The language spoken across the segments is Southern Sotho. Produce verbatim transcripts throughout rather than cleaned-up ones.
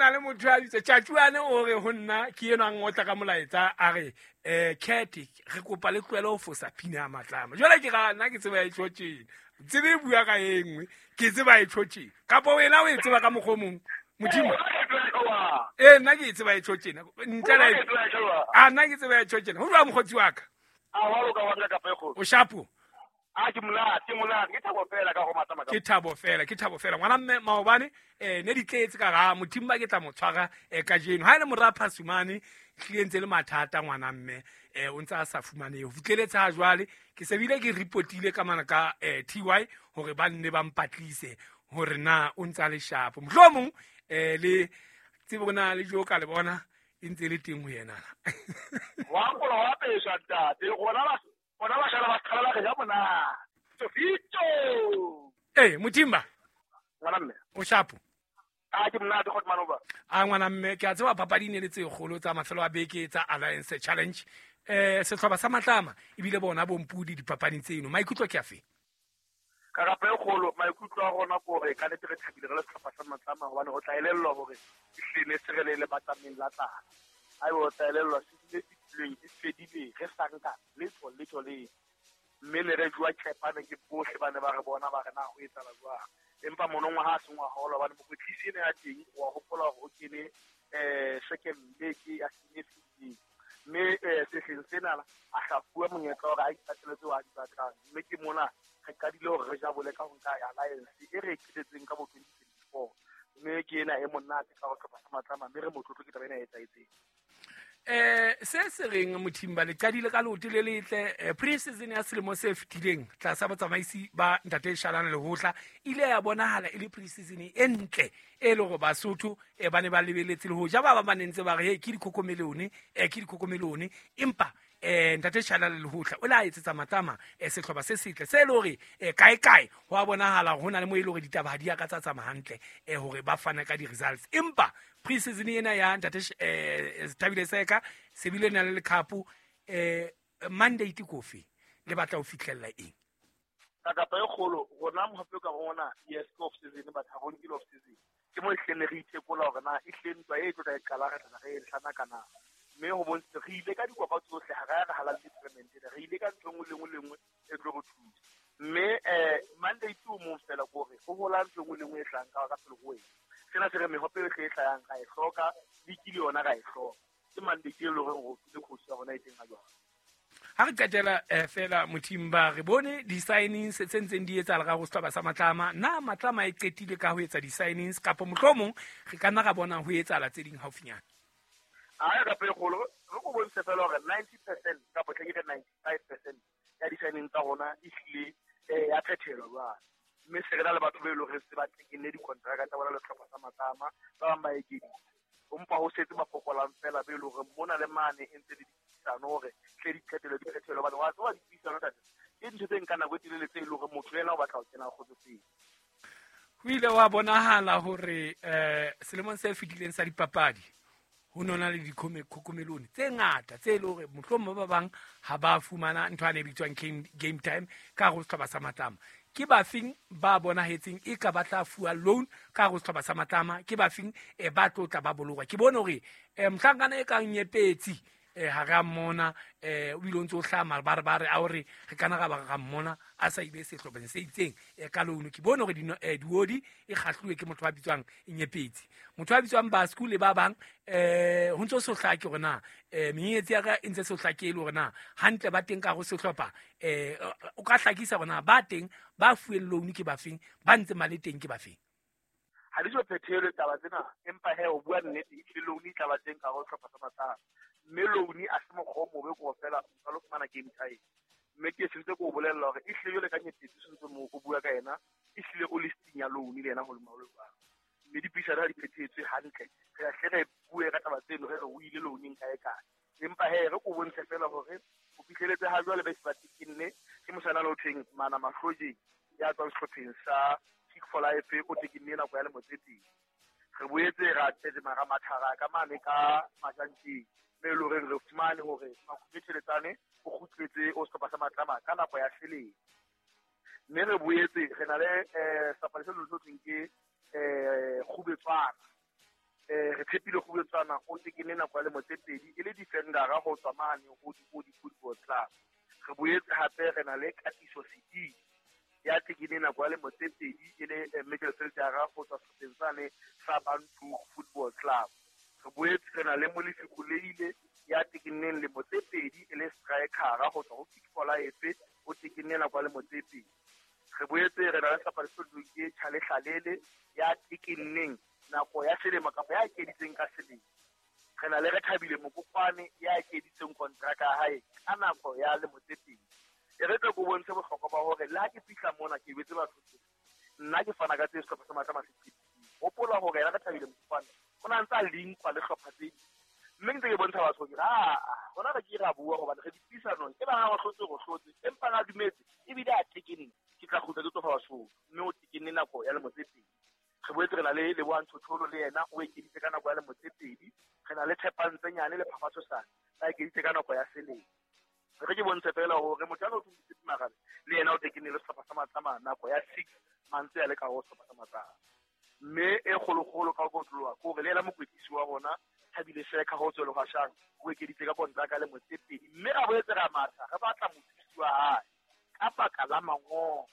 na le motho a bitse Tjatjuane o re ho nna ke enwa ngotla ka molaetsa a re eh Cat re kopa le tlohele ho fosa pina ya Matlama. Jwale ke ra nna ke tseba e tjho tjena. Tsebe e bua ka e nngwe, ke tseba e tjho tjena. Kapa wena o e tseba ka mokgwa o mong? Modimo. Eh nna ke e tseba e tjho tjena. Ntle le a nna ke tseba e tjho tjena. Ho jwang mokgotsi wa ka? A wa loka wa nka kapa e kgolo. O shapo. A ke monate, ke monate, ke thabo fela ka go Matlama. Ke thabo fela, ke thabo fela. Ngwana mme maobane eh ne di tletse ka ga Mothimba ke tla mo tshwara eh kajeno. Ha ile mora Phasumane hlile ntse le mathata ngwana mme eh o ntse a sa fumane ho fitleletse ha jwale ke se bile ke reportile ka mana ka eh T Y hore ba nne ba mpatlise hore na o ntse a le shapo. Mohlomong eh le tsebo na le jo ka le bona e ntse le teng ho yena. Wa nkola wa pesha ntate, rona ba bona ba shala ba qala re ja mona. Sofito. Eh Mothimba. Ngwana mme. O shapo. A ke monate go manova. A ngwana mme ke a tseba papadi ne le tse kgolo tsa mafelo a beke tsa Alliance Challenge. Eh sehlopha sa Matlama ebile bona bompudi dipapading tseno. Maikutlo ke afe? Ka rapa e kgolo maikutlo a rona gore ka nete re thabile re le sehlopha sa Matlama hobane o tla elellwa hore ehlile se re le le batlameng la tlala. Ai o tla elellwa se dile fitileng e fedile re sa nka letho letho le mme ne re jwa tshepane ke bohle ba ne ba re bona ba re na ho etsala jwang. Empa monongwa ha se ngwa holo hobane mokwetlisi ene ya teng wa hopola hore o kene eh second leg ya sene fetileng. Mme eh sehleng sena a hlafuwa monyetla hore a ipatele tseo a di batlang. Mme ke mona re qadile hore re jabole ka ho nka Alliance e re qetetseng ka bo twenty twenty-four. Mme ke ena e monate ka ho hlopha sa Matlama mme re motlotlo ke taba ena e etsahetseng. Eh se se reng Mothimba le qadile ka leoto le letle pre-season ya selemo se fetileng tlasa botsamaisi ba Ntate Shalane Lehotla ile ya bonahala e le pre-season e ntle e le hore Basotho e ba ne ba lebeletse le hoja ba ba ba nentse ba re hey ke dikhokomelone eh ke dikhokomelone empa eh Ntate Shalane Lehotla o la etsetsa Matlama eh sehlopha se setle se le hore eh kae kae ho a bonahala hona le mo ile hore ditaba ha di a ka tsa tsamaya hantle eh hore ba fana ka di results empa pre-season ena ya Ntate eh Thabile Seka se bile na le lekhapu eh mandate kofi le batla ho fihlella eng ka kapa e kgolo rona mohape ka rona yes off season ba tha rona off season ke mo ehleng re itekola hore na ehleng ntwa e tlo tla e qala re tla re e hlana kana mme ho bontshitse re ile ka dikopa tsohle ha re re halal tournament re ile ka ntho nngwe le nngwe le nngwe e tlo re thusa mme eh mandate o mong fela gore ho hola ntho nngwe le nngwe e hlang ka ka pele ho wena sena se re mehope e hle e hlayang ra e hloka liki le yona ra e hloka ke mandate e leng hore o file coach ya rona e teng ha jwale. Ha re qetela fela Mothimba re bone di-signings tse ntseng di etsahala ka ho sehlopha sa Matlama. Na Matlama e qetile ka ho etsa di-signings kapa mohlomong re ka nna ra bona ho etsahala tse ding haufinyana? Ai ka pele kgolo re go bontshe fela hore ninety percent kapa tle ke re ninety-five percent ya di-signings tsa rona e hlile ya phethelwa jwale. Mme se re na le batho ba e leng hore se ba tekenne dikontraka tsa bona le sehlopha sa Matlama ba bang ba ekeditse empa ho setse ba fokolang fela ba e leng hore mona le mane e ntse le dipuisano hore tle di qetelo di phethelwe hobane wa tseba dipuisano tate ke dintho tse nkang nako e telele tse e leng hore motho yena o batla ho kena kgotsofetse. Ho ile wa bonahala hore eh selemong se fetileng sa dipapadi ho nona le dikhokomelone tse ngata tse le hore mohlomong ba bang ha ba fumana ntho ane e bitswang game time ka ho sehlopha sa Matlama. Ke bafeng ba bonahetseng e ka ba tla fuwa loan ka ho sehlopha sa Matlama ke bafeng e ba tlotla ba bolokwa ke bone hore eh mohlankana e kang Nyepetsi eh ha ra mmona eh o ile o ntse o hlama ba re ba re a hore re kana ra ba ra mmona a sa ile sehlopheng se itseng e ka loan ke bone hore diodi e kgahluwe ke motho a bitswang Nyepetsi motho a bitswang Basku le ba bang eh ho ntse so hlake hore na eh menyetsi ya ka e ntse so hlake le hore na hantle ba teng ka go sehlopha eh o ka hlakisa hore na ba teng ba fuweng loan ke bafeng ba ntse male teng ke bafeng ha di so phethelwe taba tsena empa he o bua nnete e loan e tla ba teng ka go sehlopha sa Matlama mme loan a se mokgwa o mobe ko fela o lo fumana game time mme ke sentse ko bolella hore e hlile jwale ka Nyepetsi sentse mo o bua ka yena e hlile o listing ya loan le yena ho le maholo jwang mme dipuisano ha di phethetswe hantle re a hle re bue ka taba tseno re re o ile loaneng kae kae empa he re ko bontshe fela hore o fihleletse ha jwale ba se ba tekenne ke mosana le ho thweng Mana Mahlojeng ya tswang sehlopheng sa Kick for Life o tekenne nako ya lemo tse pedi re boetse ra tetse mara mathara ka mane ka Majanteng mme e le hore re fumane hore Makhube Theletsane o kgutletse o sehlopha sa Matlama ka nako ya selemo mme re boetse re na le eh sebapadi se leng se thweng ke eh Kgubetswana Eh re tshepile go buetsana o tekene nako ya lemo tse pedi e le defendera go tswa mane go di football club. Re boetse hape re na le Katiso City ya tekene nako ya lemo tse pedi e le midfieldera go tswa sehlopheng sane sa Bantu Football Club. Re boetse re na le Molefi Kuleile ya tekeneng lemo tse pedi e le strikera go tswa go Kick for Life o tekene nako ya lemo tse pedi. Re boetse re na le sehlopha se ke Chale Hlalele ya tekeneng nako ya selemo kapa ya ekeditseng ka selemo. Re na le re Thabile Mokokwane ya ekeditseng kontraka ya hae ka nako ya lemo tse pedi. E re tle ko bontshe bohlokwa ba hore le ha ke fihla mona ke betse batho nna ke fana ka tse sehlopha sa Matlama se. Hopola hore yena re Thabile Mokokwane o na ntsa linkwa le hlopha tse ding. Mme ntse ke bontsha batho ke a rona re ke ra bua hobane re dipuisanong e ba ha ba hlotse go hlotse empa ga dumetse ebile a tekenne ke tla kgutla ke tlo fa batho mme o tekenne nako ya lemo tse pedi. Re boetse re na le Lebohang Tshotsholo le yena o ekeditse ka nako ya lemo tse pedi. Re na le Tshepang Tsenyane le Phafatso Sane ba ekeditse ka nako ya selemo. Re ke bontshe fela hore motho a no thusitse Magabe le yena o tekenne le sehlopha sa Matlama nako ya six months ya le ka ho sehlopha sa Matlama. Mme e kgolokgolo ka go tloha ke hore le yena mokwetlisi wa rona Thabile Seka ho tswela ho shang o ekeditse ka kontraka le motse pedi mme ra boetse ra matha re batla mothusi wa hae ka baka la mangolo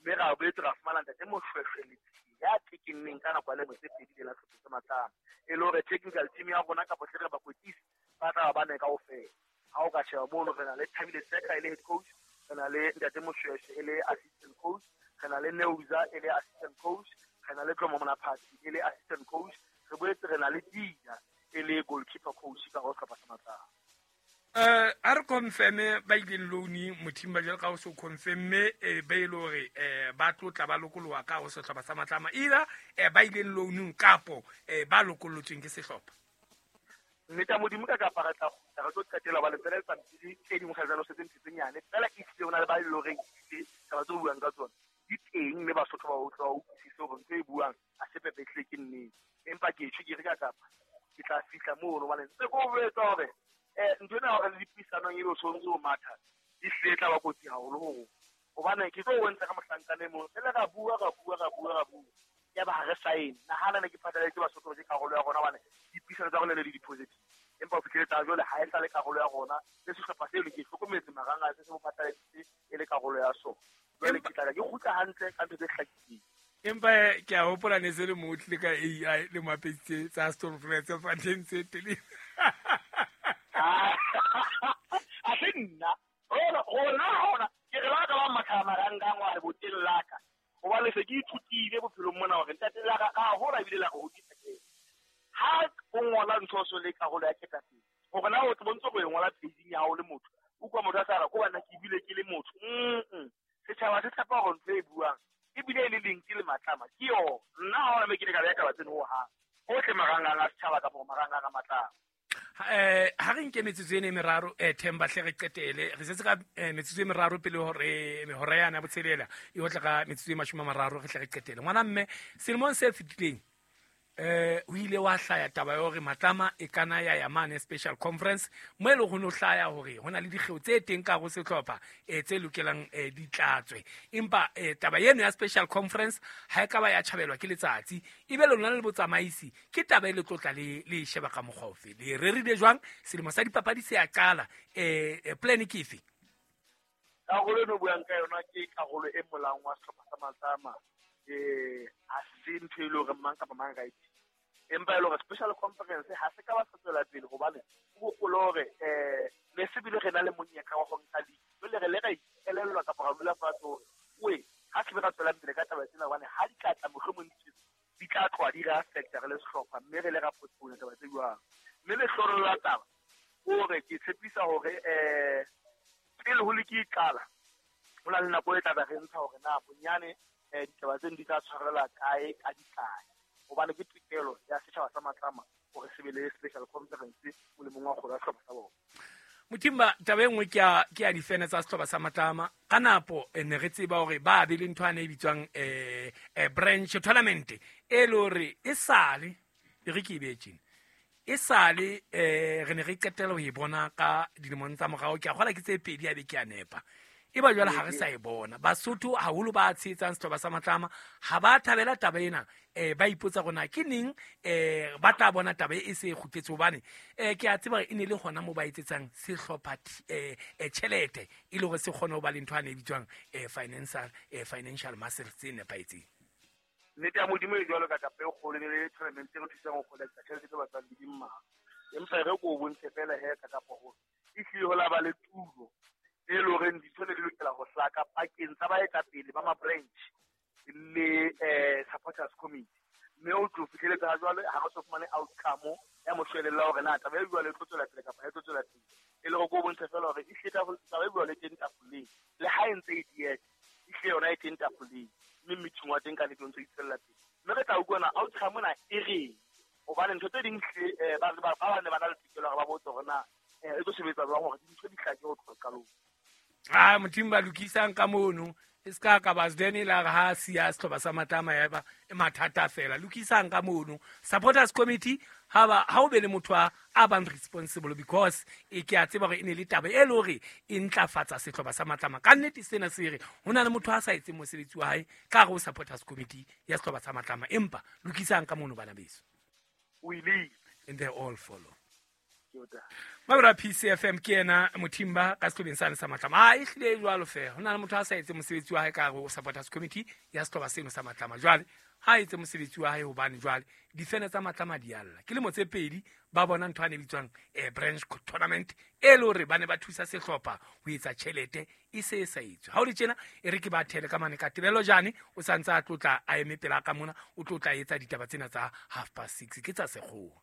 mme ra boetse ra fumana ntate Moshweshwe ya tekenneng ka nako ya lemo tse pedi le la sehlopha sa Matlama e le hore technical team ya rona kapa hle re bakwetlisi ba tla ba ne kaofela. Ha o ka sheba mono re na le Thabile Seka e le head coach, re na le ntate Moshweshwe e le assistant coach, re na le Neuza e le assistant coach, re na le Tlomo Monaphathi e le assistant coach, re boetse re na le Dia e le goalkeeper coach ka ho sehlopha sa Matlama. Eh a re confirme ba ileng loan Mothimba jwalo ka o so confirme e ba ile hore eh ba tlotla ba lokoloha ka ho sehlopha sa Matlama either eh ba ileng loanung kapo eh ba lokolotsweng ke sehlopha. Nnete ya Modimo ka kapa re tla kgutla re tlo qetela ba le tsela dipampiri tse dingwe ga jalo setse ntho tse nyane fela e hlile ho na le ba loreng ehlile taba tse o buang ka tsona di teng mme Basotho ba utlwa ba utlwisise hore ntho e buang ha se pepetle ke nnete. Empa ke tjho ke re ka kapa ke tla fihla mono hobane ntse ko boletse hore eh ntho ena hore le dipuisanong ebe o tshwanetse ho matha di hlile e tla ba kotsi haholo ho rona. Hobane ke tlo o bontsha ka mohlankana e mong fela ra bua ra bua ra bua ra bua ya ba ha re sign nahana ne ke phatlaletse Basotho ke karolo ya rona hobane dipuisano tsa rona le di-positive empa ho fihlele tsa jwale ha e sa le karolo ya rona le sehlopha seo ke hlokometse marang a se se mo phatlaladitse e le karolo ya sona. Jwale ke tla ke kgutla hantle ka ntho tse hlakileng. Empa ke a hopola ne se le mo tlile ka A I le mapetse tsa Stormfront tse fanteng tse tele. A se nna rona rona rona ke re ba ka ba matha marang wa re boteng la ka hobane se ke ithutile bophelong mona hore ntate la ka ka hola ebile la go hodisa ke ha o ngola ntho so le karolo ya ketapele hore na o tlo bontse go e ngola page ya hao le motho o kwa motho a sa re ko bana ke bile ke le motho mm setjhaba se tshepa hore ntho e buang ebile e le link le Matlama ke yo nna ha ona me ke le ka ya taba tseno ho hang hohle marangang a setjhaba kapa marangang a Matlama. Eh ha re nke metsotso ena e meraro eh Themba hle re qetele re setse ka metsotso e meraro pele hore mehora yana botshelela e otla ka metsotso e mashome a mararo re hle re qetele. Ngwana mme selemong se fetileng eh o ile wa hlaya taba ya hore Matlama e kana ya ya mane special conference mo e le go no hlaya hore hona le dikgeo tse teng ka go sehlopha eh tse lokelang eh di tlatswe empa eh taba eno ya special conference ha e ka ba ya tjhabelwa ke letsatsi ebe lona le botsamaisi ke taba e le tlotla le le sheba ka mokgofe le rerile jwang selemo sa dipapadi se ya qala eh plan ke efe? Karolo eno buang ka yona ke karolo e molaong wa sehlopha sa Matlama eh ha se ntho e le hore mang kapa mang ka e empa e le hore special conference ha se ka ba sa tswela pele hobane o hopole hore eh ne se bile re na le monyetla wa ho nka league jwale re le ra ikelellwa kapa ra dula fatshe hore oe ha se be ra tswelang pele ka taba tsena hobane ha di ka tla mohlomong di tla tloha di re affecta re le sehlopha mme re le ra postpone taba tse jwang. Mme lehloro la taba hore ke tshepisa hore eh pele ho league e qala ho na le nako e tla be re ntsha hore na bonyane eh ditaba tseno di tla tshwarela kae ka dikae hobane ke tokelo ya setjhaba sa Matlama hore se be le special conference molemong wa kgolo ya sehlopha sa bona. Mothimba taba e nngwe ke ya ke ya difene tsa sehlopha sa Matlama ka napo ne re tseba hore ba be le ntho ane e bitswang eh branch tournament e le hore e sale e re ke e beetseng e sale eh re ne re qetela ho e bona ka dilemong tsa morao ke a kgola ke tse pedi a be ke a nepa E ba jwale ha re sa e bona. Basotho haholo ba tshehetsang sehlopha sa Matlama ha ba thabela taba ena, eh ba ipotsa hore na ke neng eh ba tla bona taba e se e kgutletse, hobane eh ke a tseba hore e ne le hona moo ba etsetsang sehlopha eh tjhelete e le hore se kgone ho ba le ntho ane e bitswang eh financial eh financial muscle tse nepahetseng. Nnete ya Modimo e jwalo ka kapa e kgolo le tournament e re thusang ho collecta tjhelete tse batlang di mmalwa. Empa re ko o bontshe fela he ka kapa hore e hlile ho la ba le tulo e le horeng dintho ne di lokela ho hlaka pakeng tsa baetapele ba ma-branch le eh supporters committee. Mme o tlo fihleletse ha jwale ha re so fumane outcome ya moshwelella hore na taba e jwale e tlo tswela pele kapa ha e tlo tswela pele. E le hore ko o bontshe fela hore e hlile taba e jwale e teng tafoleng, le ha e ntse e dieha e hlile yona e teng tafoleng, mme meeting wa teng ka nnete o ntso itswella pele. Mme re tla utlwa na outcome na e reng, hobane ntho tse ding hle ba ba ba ne ba na le tokelo hore ba botse hore na e tlo sebetsa jwang hore dintho di hlake ho tloha qalong. Ah, Modimo ba lokisang ka mono e ska ka ba zdene la re ha siya sehlopha sa Matlama ya ba e mathata fela. Lokisang ka mono supporters committee ha ba ha o be le motho a a bang responsible, because e ke a tseba hore e ne le taba e le hore e ntlafatsa sehlopha sa Matlama. Ka nnete sena se re ho na le motho a sa etseng mosebetsi wa hae ka hare ho supporters committee ya sehlopha sa Matlama, empa lokisang ka mono bana beso. We leave and they all follow. Mabra P C F M ke ena Mothimba ka sehlobeng sane sa Matlama. Ah, e hlile e jwalo feela. Ho na le motho a sa etse mosebetsi wa hae ka hare ho supporters committee ya sehlopha seno sa Matlama. Jwale ha etse mosebetsi wa hae hobane jwale difene tsa Matlama di alla. Ke lemo tse pedi ba bona ntho ane bitswang eh branch tournament e le hore ba ne ba thusa sehlopha ho etsa tjhelete e se e sa etswe. Ha o le tjena e re ke ba thele ka mane ka Tebelo Jane o santse a tlotla a eme pela ka mona, o tlotla etsa ditaba tsena tsa half past six ke tsa sekgowa.